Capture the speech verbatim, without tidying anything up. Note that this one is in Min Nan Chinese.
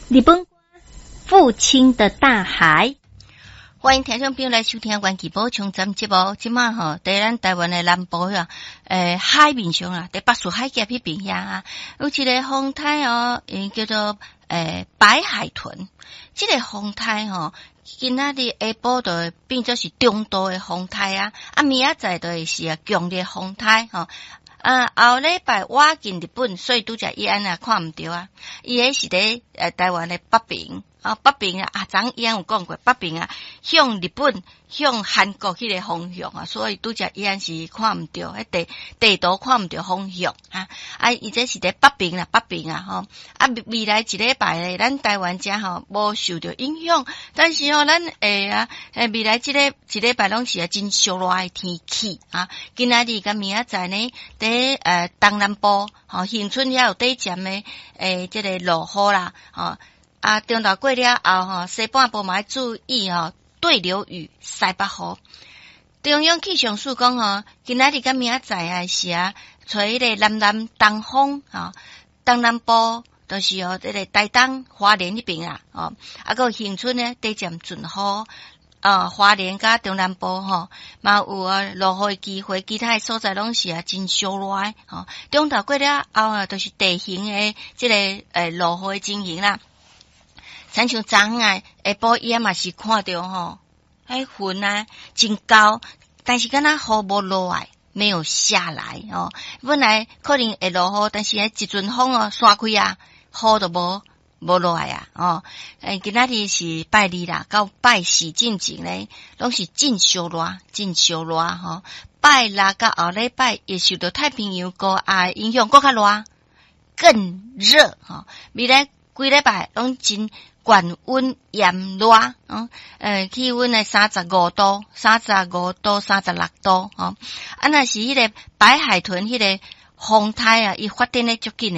日本父親的大海。歡迎聽眾朋友來收聽《元氣補充站》節目。這馬吼，佇咱台灣的南部遐，欸，海面上啊，佇巴士海峽彼邊遐啊，有一个風颱哦，𪜶叫做欸白海豚。這個風颱吼，今仔日下晡就會變做是中度的風颱啊，啊明仔載就會是啊強烈風颱吼。啊，後禮拜倚近日本，所以拄才伊按啊看毋著啊。伊彼是佇呃台灣的北邊，啊北邊啊，啊昨伊有講過北邊啊，向日本、向韓國彼個方向啊，所以拄才伊按是看毋著，彼地地圖看毋著方向啊。啊，伊這是佇北邊啦，北邊啊吼。啊，未來一禮拜咧，咱台灣遮吼無受著影響，但是吼，咱會啊，未來這個一禮拜攏是啊真燒熱的天氣啊。今仔日佮明仔載呢，佇呃東南部吼，恆春遐有短暫的欸這个落雨啦，吼啊，中晝過了後吼，西半部嘛愛注意吼，對流雨、西北雨。中央氣象署講吼，今仔日佮明仔載啊是啊，吹彼个南南東風吼，東南部就是哦，這个台東、花蓮彼邊啊，吼，啊，閣有恆春呢，短暫陣雨。啊，花蓮佮中南部吼，嘛有啊落雨的機會，其他的所在攏是啊真燒熱吼。中晝過了後啊，就是地形的這个欸落雨的情形啦。親像昨昏啊，下晡伊嘛是看著吼，彼雲啊真高，但是敢若雨無落來，沒有下來哦。本來可能會落雨，但是彼一陣風哦，散開啊，雨就無。無落來啊！哦，欸，今仔日是拜二啦，到拜四進前咧，攏是真燒熱，真燒熱吼。拜六佮後禮拜會受著太平洋高壓影響，閣較熱，更熱吼。未來幾禮拜攏真懸溫炎熱，嗯，呃，氣溫呢三十五度、三十五度、三十六度，吼。啊，若是彼个白海豚彼个風颱啊，伊發展得足緊的。